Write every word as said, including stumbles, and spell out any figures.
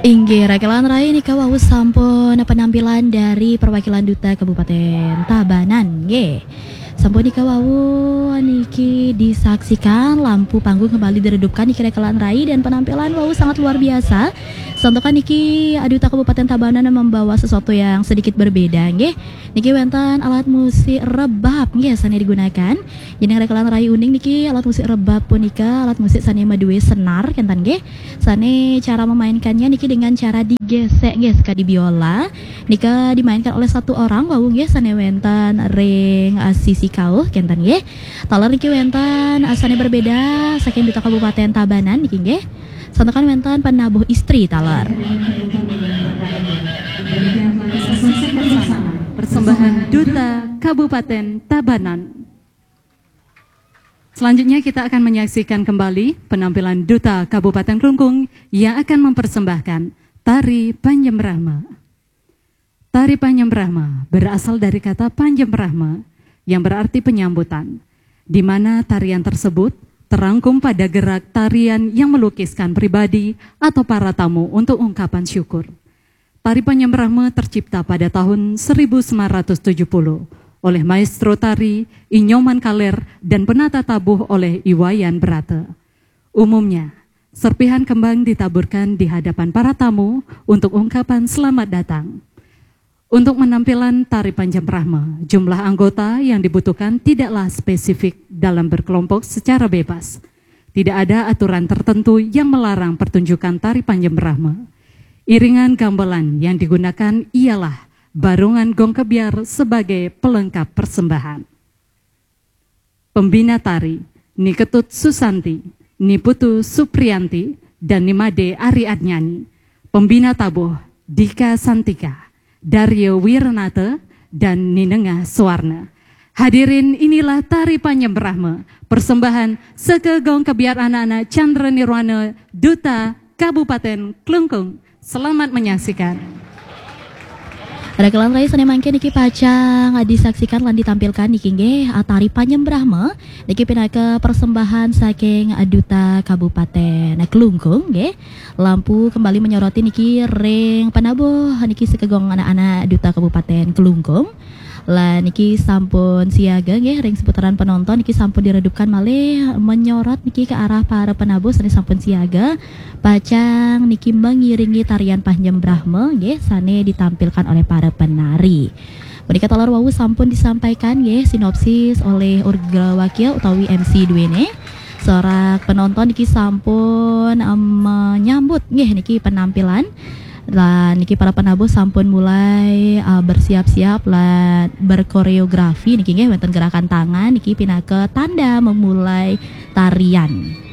Inggih, Rakelan Rai, nika wau sampun penampilan dari perwakilan Duta Kabupaten Tabanan, nggih. Sampun nika wau niki disaksikan, lampu panggung kembali diredupkan niki, Rakelan Rai, dan penampilan wau sangat luar biasa. Santokan niki Duta Kabupaten Tabanan membawa sesuatu yang sedikit berbeda, nggih. Niki wenten alat musik rebab, nggih, sane digunakan. Jadi Rakelan Rai uning niki alat musik rebab punika alat musik sane madue senar kenten, nggih. Sane cara memainkannya niki dengan cara digesek, nggih, sekadi biola. Nika dimainkan oleh satu orang wau, nggih, sane wenten ring, eh, sisi kauh kenten, nggih. Taler niki wenten, eh, sane berbeda saking Duta Kabupaten Tabanan niki, nggih. Santokan wenten penabuh istri taler. Persembahan Duta Kabupaten Tabanan. Selanjutnya kita akan menyaksikan kembali penampilan Duta Kabupaten Klungkung yang akan mempersembahkan tari Panjem Brahma. Tari Panjem Brahma berasal dari kata Panjem Brahma yang berarti penyambutan, di mana tarian tersebut terangkum pada gerak tarian yang melukiskan pribadi atau para tamu untuk ungkapan syukur. Tari Panjem Brahma tercipta pada tahun seribu sembilan ratus tujuh puluh oleh maestro tari I Nyoman Kaler dan penata tabuh oleh I Wayan Brata. Umumnya, serpihan kembang ditaburkan di hadapan para tamu untuk ungkapan selamat datang. Untuk penampilan tari Panjem Brahma, jumlah anggota yang dibutuhkan tidaklah spesifik dalam berkelompok secara bebas. Tidak ada aturan tertentu yang melarang pertunjukan tari Panjem Brahma. Iringan gamelan yang digunakan ialah barungan gong kebyar sebagai pelengkap persembahan. Pembina tari, Ni Ketut Susanti, Ni Putu Suprianti, dan Ni Made Ariadnyani. Pembina tabuh, Dika Santika, Daryo Wiranata, dan Ni Nengah Suwarna. Hadirin, inilah tari Panjem Brahma, persembahan saka gong kebyar anak-anak Chandra Nirwana, Duta Kabupaten Klungkung. Selamat menyaksikan. Rakelan Rai, sane mangke niki pacang disaksikan lan ditampilkan niki, nggih, tari Panjem Brahma niki pinaka persembahan saking Duta Kabupaten Klungkung, nggih. Lampu kembali menyoroti niki ring penabuh niki saka gong anak-anak Duta Kabupaten Klungkung. Lah niki sampun siaga, nggih, ring seputaran penonton niki sampun diredupkan malih, menyorot niki ke arah para penabuh sane sampun siaga. Pacang niki mengiringi tarian Panjem Brahma, nggih, sane ditampilkan oleh para penari. Punika taler wau sampun disampaikan, nggih, sinopsis oleh Urgrawakya utawi M C duene. Sorak penonton niki sampun, em, menyambut, nggih, niki penampilan. Lan niki para penabuh sampun mulai, eh, bersiap-siap lan berkoreografi niki, nggih, wenten gerakan tangan niki pinaka tanda memulai tarian.